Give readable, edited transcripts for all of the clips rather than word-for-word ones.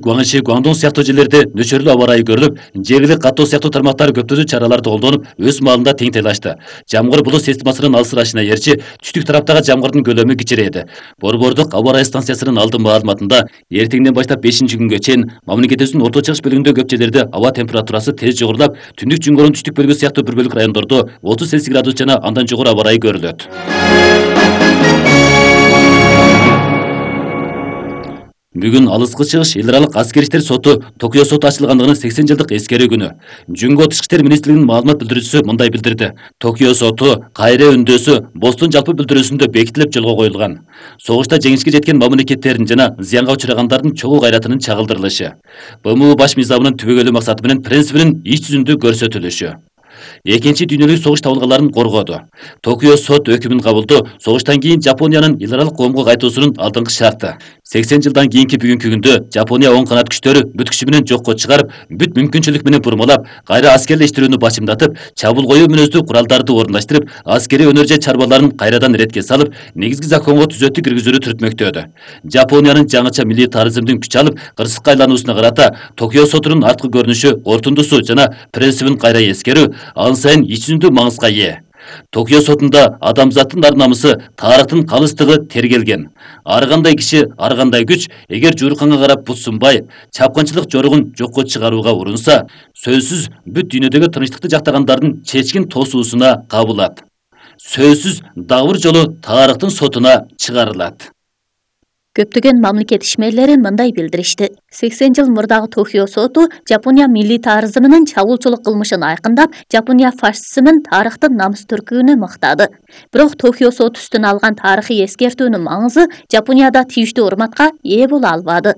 Гуаңши, Гуандун сыяктуу жерлерде нөчөрлүү аба ырайы көрүлүп, жергилик каттоо сыяктуу тармактар көптөгөн чараларды колдонуп, өз маалында тең тыйлашты. Жамгыр булут системасынын алсырашына ээрчи түштүк тараптагы жамгырдын көлөмү кичирейди. Борбордук аба ырайы станциясынын алдын маалыматында эртеңден баштап 5-күнгө чейин мамлекетибиздин орто чыгыш бөлүгүндө көп жерлерде аба температурасы тез жогорулап, түндүк Жунгордун түштүк бөлүгү сыяктуу бир бөлүк райондордо 30 Цельсий градус жана андан жогору аба ырайы көрүлөт. Бүгүн Алыскы Чыгыш эл аралык аскер иштер соту Токио соту ачылгандыгынын 80 жылдык эскерүү күнү. Жунго Тышкы иштер министрлигинин маалымат билдирүүчүсү мындай билдирди. Токио соту кайра өндөөсү Бостун жалпы билдирүүсүндө бекитилип жолго коюлган. Согушта жеңишке жеткен мамлекеттердин жана зыянга учурагандардын чогуу кайратынын чагылдырылышы. БМУ баш мыйзамынын түбөгөйлүү максаты менен принцибинин иш жүзүндө көрсөтүлүшү. Экинчи дүйнөлүк согуш табылгаларын коргоду. Токио сот өкүмүн кабылдоо согуштан кийин Жапониянын эл аралык коомго кайтуусунун алдыңкы шарты. 80 жылдан кийинки бүгүнкү күндө Жапония оң канат күчтөрү бүт күчү менен жокко чыгарып, бүт мүмкүнчүлүк менен бурмалап, кайра аскерлештирүүнү башымдатып, чабуул коюу мүнөздүү куралдарды орундаштырып, аскерий өнөр же чарбаларын кайрадан иретке салып, негизги законго түзөтүү киргизүүнү түртмөктөдү. Жапониянын жаңыча милитаризмдин күч алып, кырсыкка айлануусуна карата Токио сотунун арткы көрүнүшү, кортундусу жана принцибин кайра эскерүү ал сайын ич жүзүндүү маңызга ээ. Токио сотунда адамзаттын ар намысы, тарыхтын калыстыгы тергелген. Ар кандай киши, ар кандай күч эгер жуурканга карап бут сунбай, чапкынчылык жоругун жокко чыгарууга урунса, сөзсүз бүт дүйнөдөгү тынчтыкты жактагандардын чечкин тосуусуна кабылат. Сөзсүз дагы бир жолу тарыхтын сотуна чыгарылат. Көптөгөн мамлекет ишмерлери мындай билдиришти. 80 жыл мурдагы Токио соту Жапония милитаризминин чабуулчулук кылмышын айкындап, Жапония фашистсинин тарыхтын намыстөркүнү мактады. Бирок Токио соту үстүнө алган тарыхый эскертүүнүн маңызы Жапонияда тийиштүү урматка ээ боло албады.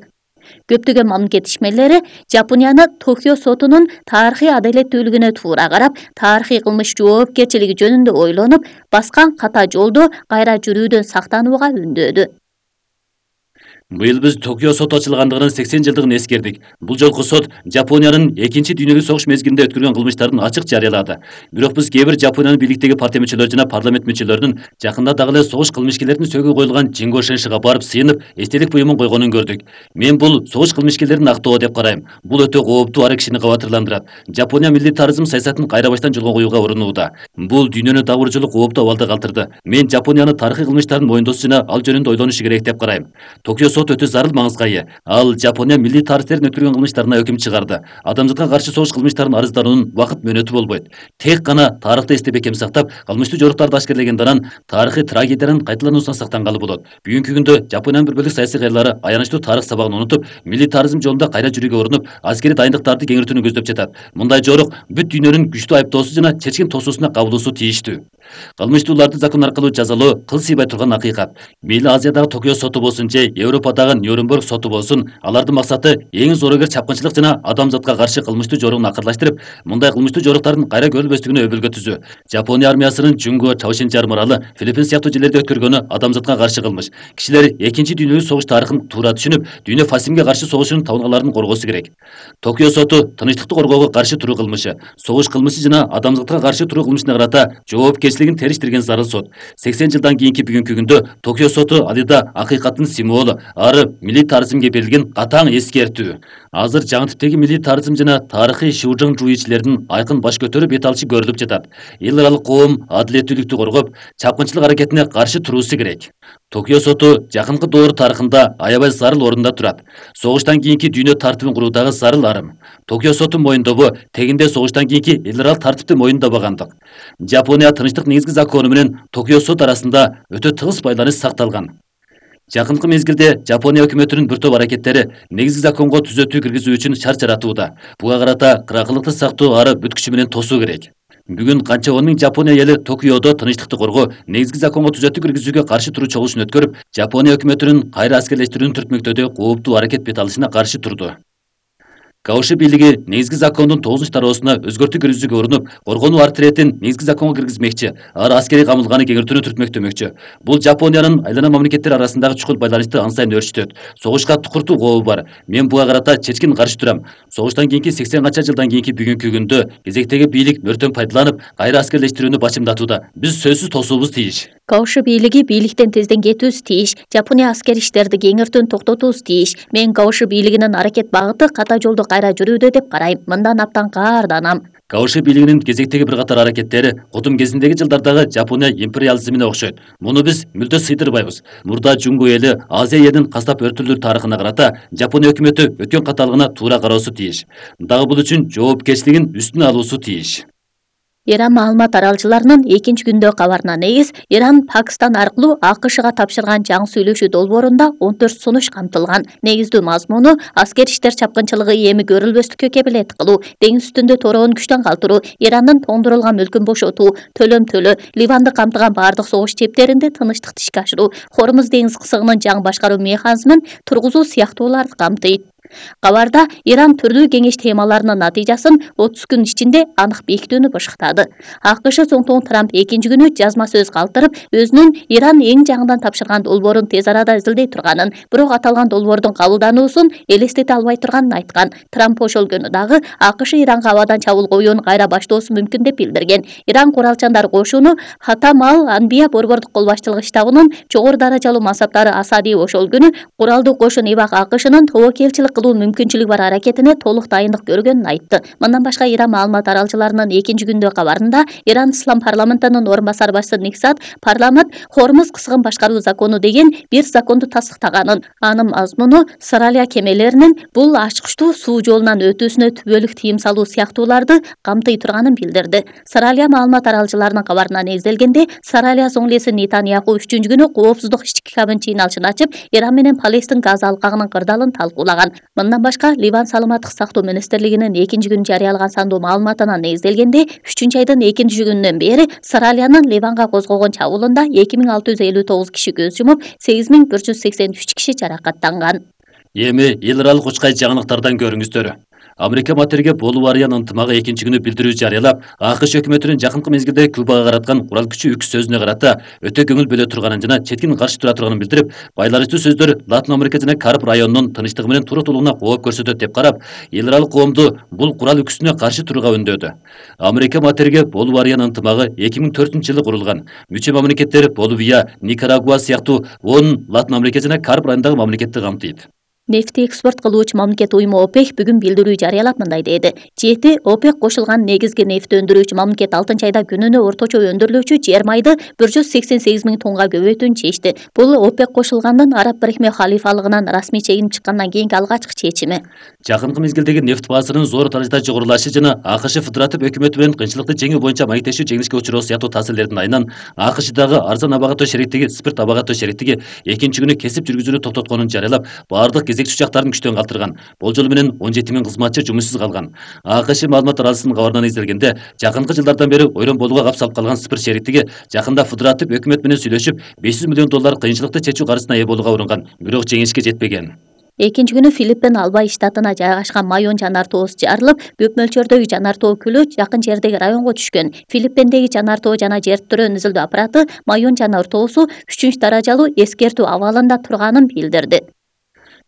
Көптөгөн мамлекет ишмерлери Жапонияны Токио сотунун тарыхый адалеттүүлүгүнө туура карап, тарыхый кылмыш жоопкерчилиги жөнүндө ойлонуп, баскан ката жолдо кайра жүрүүдөн сактанууга үндөдү. Быйыл биз Токио соту ачылгандыгынын 80 жылдыгын эскердик. Бул жолку сот Жапониянын экинчи дүйнөлүк согуш мезгилинде өткөргөн кылмыштарын ачык жарыялады. Бирок биз кээ бир Жапониянын бийликтеги партия мүчөлөрү жана парламент мүчөлөрүнүн жакында дагы эле согуш кылмышкерлеринин сөөгү коюлган Жинго Шеншига барып сыйынып, эстелик буюмун койгонун көрдүк. Мен бул согуш кылмышкерлерин актоо деп карайм. Бул өтө кооптуу ары кишини кабатырландырат. Жапония милитаризм саясатын кайра баштан жолго коюуга урунууда. Бул дүйнөнү дагы бир жолу кооптуу абалда калтырды. Мен Жапониянын тарыхый кылмыштарын мойындоосу жана ал жөнүндө ойлонушу керек деп карайм. Токио соту өтө зарыл маңызга ээ. Ал Жапония милитаристтерин өткөргөн кылмыштарына өкүм чыгарды. Адамзатка каршы согуш кылмыштарын арыздануунун убакыт мөөнөтү болбойт. Тек гана тарыхты эстеп бекем сактап, кылмыштуу жоруктарды ашкерлегенде анан тарыхый трагедиянын кайталануусунан сактангалы болот. Бүгүнкү күндө Жапониянын бир бөлүк саясий кайрылары аянычтуу тарых сабагын унутуп, милитаризм жолунда кайра жүрүүгө урунуп, аскерий дайындыктарды кеңейтүүнү көздөп жатат. Мындай жорук бүт дүйнөнүн күчтүү айыптоосу жана чечкин тосуусуна кабылуусу тийиштүү. Кылмыштууларды закон аркылуу жазалоо кыл сыйбай турган акыйкат. Мейли Азиядагы Токио соту болсун же Европадагы Нюрнберг соту болсун, алардын максаты эң зоорогер чапкынчылык жана адамзатка каршы кылмыштуу жоругун акырлаштырып, мындай кылмыштуу жоруктардын кайра көрүлбөстүгүнө өбөлгө түзүү. Жапония армиясынын Жунго, Чаошин аралы, Филиппин сыяктуу жерлерде өткөргөнү адамзатка каршы кылмыш. Кишилер экинчи дүйнөлүк согуш тарыхын туура түшүнүп, дүйнө фашизмге каршы согушунун табылгаларын коргоосу керек. Токио соту тынчтыкты коргоого каршы туруу кылмышы, согуш кылмышы жана адамзатка каршы туруу кылмышына карата жоопкерчилигин териштирген зарыл сот. 80 жылдан кийинки бүгүнкү күндө Токио соту алыда акыйкаттын символу, ары милитаризмге берилген катаң эскертүү. Азыр жаңы типтеги милитаризм жана тарыхый шуужаң жууичилердин айкын баш көтөрүп бет алышы көрүлүп жатат. Эл аралык коом адилеттүүлүктү коргоп, чапкынчылык аракетине каршы туруусу керек. Токио соту жакынкы доор тарыхында аябай зарыл орунда турат. Согуштан кийинки дүйнө тартибин куруудагы зарыл арым. Токио соту моюндобу тегинде согуштан кийинки эл аралык тартипти моюндабагандык. Жапония тынчтык негизги закону менен Токио сот арасында өтө тыгыз байланыш сакталган. Жакынкы мезгилде Жапония өкмөтүнүн бир топ аракеттери негизги законго түзөтүү киргизүү үчүн шарт жаратууда. Буга карата кыракылыкты сактоо ары бүт күчү менен тосуу керек. Бүгүн канча 10 миң Жапония эли Токиодо тынчтыкты коргоо, негизги законго түзөтүү киргизүүгө каршы туруу чогулушун өткөрүп, Жапония өкмөтүнүн кайра аскерлештирүүнү түртмөктөдө кооптуу аракет бет алышына каршы турду. Каушы бийлиги негизги закондун 9-тароосуна өзгөртүү киргизүүгө урунуп, коргонуу артилетин негизги законго киргизмекчи, ар аскерий камылганы кеңейтүүнү түртмөктөмөкчү. Бул Жапониянын айлана мамлекеттер арасындагы чукул байланышты ан сайын өөрчүтөт. Согушка тукуртуу кообу бар. Мен буга карата чечкин каршы турам. Согуштан кийинки 80 канча жылдан кийинки бүгүнкү күндө кезектеги бийлик мөртөн пайдаланып, кайра аскерлештирүүнү бачымдатууда. Биз сөзсүз тосуубуз тийиш. Каушы бийлиги бийликтен тезден кетүүбүз тийиш. Жапония аскер иштерди кеңиртүүнү токтотуубуз тийиш. Мен Каушы бийлигинин аракет багыты ката жолдо кайра жүрүүдө деп карайм. Мындан абдан каарданам. Каушы бийлигинин кезектеги бир катар аракеттери кудум кезиндеги жылдардагы Жапония империализмине окшойт. Муну биз мүлдө сыйдырбайбыз. Мурда Жунго эли Азия элинин кастап өртүлүү тарыхына карата Жапония өкмөтү өткөн каталыгына туура кароосу тийиш. Дагы бул үчүн жоопкерчилигин үстүнө алуусу тийиш. Иран маалымат аралчыларынын экинчи күндө кабарына негиз, Иран Пакистан аркылуу АКШга тапшырган жаңы сүйлөшүү долбоорунда 14 сунуш камтылган. Негиздүү мазмуну аскер иштер чапкынчылыгы эми көрүлбөстүккө кепилет кылуу, деңиз үстүндө тороон күчтөн калтыруу, Ирандын тоңдурулган мүлкүн бошотуу, төлөм, Ливанды камтыган бардык согуш чептеринде тынычтыкты ишке ашыруу, Хормуз деңиз кысыгынын жаңы башкаруу механизмин тургузуу сыяктууларды камтыйт. Кабарда Иран түрдүү кеңеш темаларынын натыйжасын 30 күн ичинде анык бекитүүнү башкартады. АКШ соңтон Трамп экинчи күнү жазма сөз калтырып, өзүнүн Иран эң жаңыдан тапшырган долбоорун тез арада изилдей турганын, бирок аталган долбоордун кабылдануусун элестете албай турганын айткан. Трамп ошол күнү дагы АКШ Иранга абадан чабуул коюун кайра баштоосу мүмкүн деп билдирген. Иран куралчандар кошуну Хатам ал-Анбия борбордук кол башчылык штабынын жогору даражалуу мансаптары Асади ошол күнү куралдуу кошун Ибак АКШнын тобокелчилик кылуу мүмкүнчүлүгү бар аракетине толук дайындык көргөнүн айтты. Мындан башка Иран маалымат аралчыларынын экинчи күндө кабарында Иран Ислам парламентинин орун басар башчысы Никсат парламент Хормуз кысыгын башкаруу закону деген бир законду тастыктаганын, анын мазмуну Саралия кемелеринин бул ачкычтуу суу жолунан өтүүсүнө түбөлүк тыйым салуу сыяктууларды камтый турганын билдирди. Саралия маалымат аралчыларынын кабарына негизделгенде, Саралия соңлеси Нетаньяху 3-күнү коопсуздук ички кабинет жыйналышын ачып, Иран менен Палестин газ алкагынын кырдаалын талкуулаган. Мындан башка Ливан саламаттык сактоо министрлигинин экинчи күнү жарыялаган сандуу маалыматына негизделгенде, 3-айдын экинчи күнүнөн бери Саралиянын Ливанга козгогон чабуулунда 2659 киши көз жумуп, 8183 киши жаракаттанган. Эми эл аралык учкай жаңылыктардан көрүңүздөр. Америка материги болуп арыян ынтымагы экинчи күнү билдирүү жарыялап, АКШ өкмөтүнүн жакынкы мезгилде Кубага караткан курал күчү үкс сөзүнө карата өтө көңүл бөлө турганын жана четкин каршы тура турганын билдирип, байланыштуу сөздөр Латын Америка жана Кариб районунун тынчтыгы менен туруктуулугуна кооп көрсөтөт деп карап, эл аралык коомду бул курал үксүнө каршы турууга үндөдү. Америка материги болуп арыян ынтымагы 2004-жылы курулган. Мүчө мамлекеттер Боливия, Никарагуа сыяктуу 10 Латын Америка жана Кариб районундагы мамлекетти камтыйт. Нефти экспорт кылуучу мамлекет уюму ОПЕК бүгүн билдирүү жарыялап мындай деди. 7 ОПЕК кошулган негизги нефти өндүрүүчү мамлекет 6-айда күнүнө орточо өндүрүлүүчү жер майды 188 миң тоннага көбөйтүүнү чечти. Бул ОПЕК кошулгандын Араб Бирикме халифалыгынан расмий чегинип чыккандан кийинки алгачкы чечими. Жакынкы мезгилдеги нефт баасынын зор даражада жогорулашы жана АКШ федератив өкмөтү менен кыйынчылыкты жеңүү боюнча маектешүү жеңилишке учуроо сыяктуу таасирлердин айынан АКШдагы арзан абагаттоо шериктиги спирт абагаттоо шериктиги экинчи күнү кесип жүргүзүүнү токтотконун жарыялап, баардык кезекчи учактарын күчтөн калтырган. Болжол менен 17 миң кызматчы жумушсуз калган. АКШ маалымат аралчысынын кабарынан изделгенде, жакынкы жылдардан бери ойрон болууга кап салып калган спирт шериктиги жакында федератив өкмөт менен сүйлөшүп, $500 миллион кыйынчылыкты чечүү каржысына ээ болууга уранган, бирок жеңишке жетпеген. Экинчи күнү Филиппин Албай штатына жайгашкан Майон жанар тоосу жарылып, көп мөлчөрдөгү жанар тоо күлү жакын жердеги районго түшкөн. Филиппиндеги жанар тоо жана жер тирөөнү изилдөө аппараты Майон жанар тоосу 3-даражалуу эскертүү абалында турганын билдирди.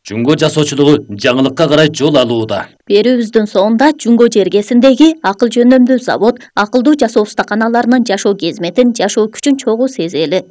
Жунго жасоочулугу жаңылыкка карай жол алууда. Берүүбүздүн соңунда Жунго жергесиндеги акыл жөндөмдүү завод акылдуу жасоо устаканаларынын жашоо кезметин, жашоо күчүн чогуу сезели.